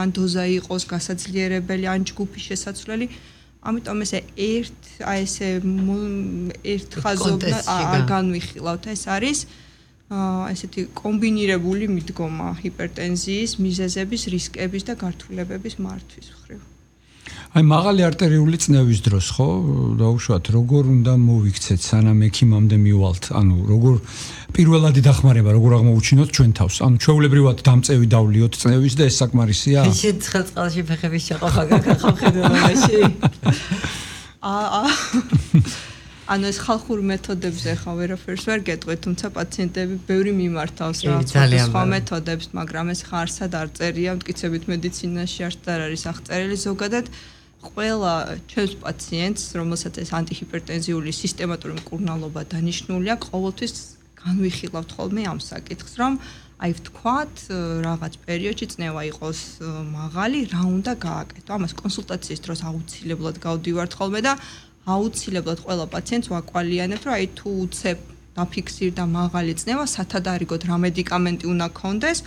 ან დოზა იყოს გასაძლიერებელი, ან ჯგუფის შესაცვლელი. ამიტომ ესე ერთ ხაზოვნად არ განვიხილავთ, ეს არის ესეთი კომბინირებული მიდგომა ჰიპერტენზიის, მიზეზების, რისკების და გართულებების მართვის მხრივ. აი მაღალი არტერიული წნევის დროს ხო დაუშვათ როგორ უნდა მოვიქცეთ სანამ ექიმამდე მივალთ ანუ როგორ პირველადი დახმარება როგორ აღმოუჩინოთ ჩვენ თავს ანუ ჩვეულებრივად დამწევი დავლიოთ წნევის და ეს საკმარისია შენ ცხელწყალში ფეხების შეყოფა გაკახავ ხედველობაში ანუ ეს ხალხურ მეთოდებზე ხა ვერაფერს ვერ გეტყვით თუმცა პაციენტები ბევრი მიმართავს რა სხვა მეთოდებს მაგრამ ეს ხარსად არ წერია მტკიცებით მედიცინაში არც არ არის აღწერილი ზოგადად ყველა ჩვენს პაციენტს რომელსაც ეს ანტიჰიპერტენზიული სისტემატური მკურნალობა დანიშნულია ყოველთვის განვიხილავთ ხოლმე ამ საკითხს რომ აი ვთქვათ რაღაც პერიოდში წნევა იყოს მაღალი რა უნდა გააკეთო ამას კონსულტაციის დროს აუცილებლად გავდივართ ხოლმე და აუცილებლად ყველა პაციენტს ვაკვალიანებთ, რომ აი თუ უცებ დაფიქსირდა მაღალი წნევა, სათადარიგოდ რა მედიკამენტი უნდა გქონდეს.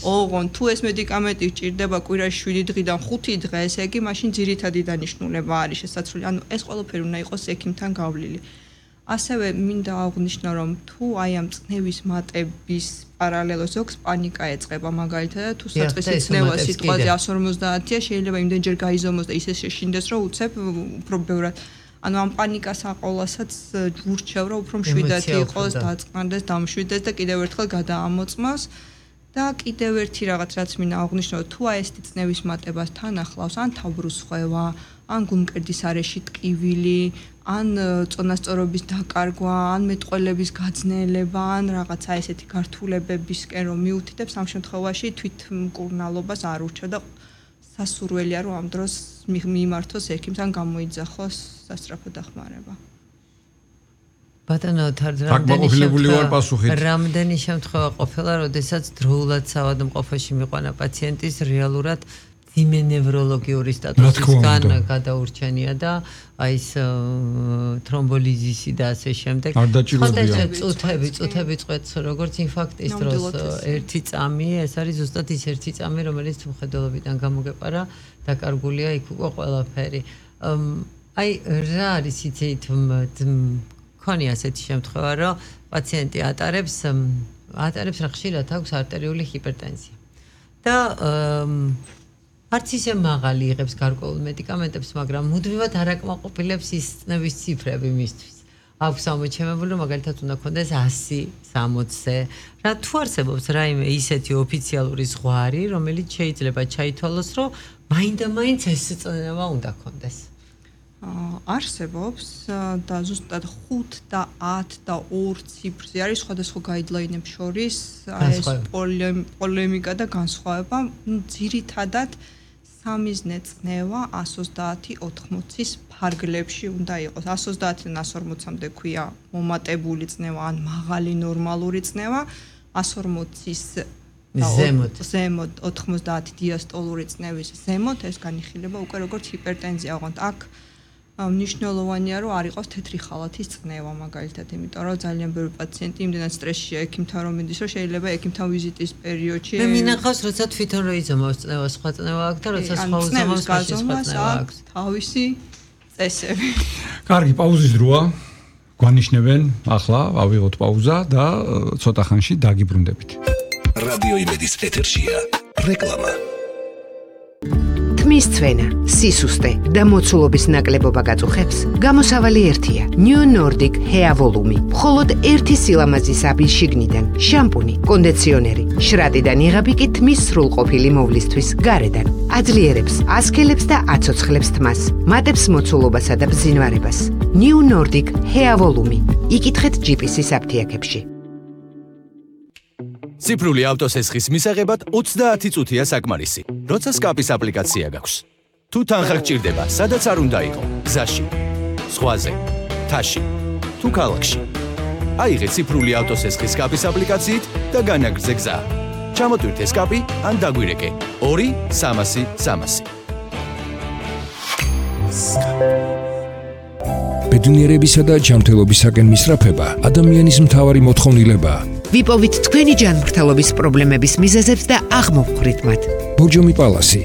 ოღონ თუ ეს მედიკამენტი ჭირდება კვირაში 7 დღიდან 5 დღე, ესე იგი მაშინ ძირითადი დანიშნულება არის შესაძლებელი. ანუ ეს ყველაფერი უნდა იყოს ექიმთან გავლილი. ასევე მინდა აღვნიშნო, რომ თუ აი ამ წნევის მატების პარალელურად ზოგს პანიკა ეწყება მაგალითად თუ საწყისი წნევა სიტყვაზე 150-ია, შეიძლება იმდენჯერ გაიზომოს და ისე შეშინდეს, რომ უცებ უფრო ბევრად ანუ ამ პანიკას აყოლასაც ვურჩევ რომ უფრო მშვიდათი იყოს დაწყნდეს დამშვიდეს და კიდევ ერთხელ გადაამოწმოს და კიდევ ერთი რაღაც რაც მინდა აღვნიშნო თუ აი ეს წნევის მატებას თან ახლავს ან თავბრუსხვევა ან გულმკერდის არეში ტკივილი ან წონასწორობის დაკარგვა ან მეტყველების გაძნელება ან რაღაცა ესეთი გართულებებისკენ რომ მიუთითებს ამ შემთხვევაში თვითმკურნალობას არ ურჩევ და სასურველია რომ ამ დროს მიმართოს ექიმთან გამოიძახოს სასწრაფო დახმარება. ბატონო რამდენი შემთხვევა ყოფილა, როდესაც დროულად საავადმყოფოში მიყვანა პაციენტის რეალურად ძიმე ნევროლოგიური სტატუსისგან გადაურჩენია და აი ეს თრომბოლიზისი და ასე შემდეგ. წუთები წვეთს როგორც ინფარქტის დროს ერთი წამი, ეს არის ზუსტად ის ერთი წამი, რომელიც მხედველობიდან გამოგეპარა, დაკარგულია იქ უკვე ყველაფერი. აი რა არის იცით მქონი ასეთი შემთხვევა, რომ პაციენტი ატარებს რა ხშირად აქვს არტერიული ჰიპერტენზია. და არც ისე მაღალი იღებს გარკვეულ მედიკამენტებს, მაგრამ მუდმივად არ აკმაყოფილებს ის წნევის ციფრები მისთვის. აქვს ამოჩემებული, რომ მაგალითად უნდა ქონდეს 100-60-ზე. რა თუ არსებობს რაიმე ისეთი ოფიციალური ზღვარი, რომელიც შეიძლება ჩაითვალოს, რომ მაინდა-მაინც ეს წნევა უნდა ქონდეს. არსებობს და ზუსტად 5 და 10 და 2 ციფრზე არის სხვადასხვა გაიდლაინებს შორის ეს პოლემიკა და განსხვავება. ძირითადად სამიზნე წნევა 130-80-ის ფარგლებში უნდა იყოს. 130-დან 140-მდე ქვია მომატებული წნევა ან მაღალი ნორმალური წნევა, 140-ის ზემოთ 90 დიასტოლური წნევის ზემოთ ეს განიხილება უკვე როგორც ჰიპერტენზია, ოღონდ აქ მნიშვნელოვანია რომ არ იყოს თეთრი ხალათის წნევა მაგალითად, იმიტომ რომ ძალიან ბევრი პაციენტი იმდენად სტრესშია ექიმთან რომ მიდის, რომ შეიძლება ექიმთან ვიზიტის პერიოდში მე მინახავს როცა თვითონ რო იზომავს წნევა, სხვა წნევა აქვს და როცა სხვა უზომავს სხვა წნევა აქვს. თავისი წესები. კარგი, პაუზის დროა. გვანიშნებენ, ახლა ავიღოთ პაუზა და ცოტა ხანში დაგიბრუნდებით. რადიო იმედის ეთერშია რეკლამა. თმის ცვენა, სისუსტე და მოცულობის ნაკლებობა გაწუხებს? გამოსავალი ერთია. New Nordic Hair Volume. მხოლოდ ერთი სილამაზის აბის შიგნიდან შამპუნი, კონდიციონერი, შრატიდან იღები კი თმის სრულყოფილი მოვლისთვის გარედან. აძლიერებს, ასქელებს და აცოცხლებს თმას. მატებს მოცულობასა და ბზინვარებას. New Nordic Hair Volume. იკითხეთ GPS-ის აფთიაქებში. ციფრული ავტოსესხის მისაღებად 30 წუთია საკმარისი. როცა სკაპის აპლიკაცია გაქვს. თუ თანხა გჭირდება, სადაც არ უნდა იყო, გზაში, ზღვაზე, თაში, თუ ქალაქში. აიღე ციფრული ავტოსესხის სკაპის აპლიკაციით და განაგრძე გზა. ჩამოტვირთე სკაპი ან დაგვირეკე 2-300-300. ბედნიერებისა და ჯანმრთელობისაკენ მისწრაფება ადამიანის მთავარი მოთხოვნილებაა. ვიპოვით თქვენი ჯანმრთელობის პრობლემების მიზეზებს და აღმოვხვრით მათ. ბორჯომი პალასი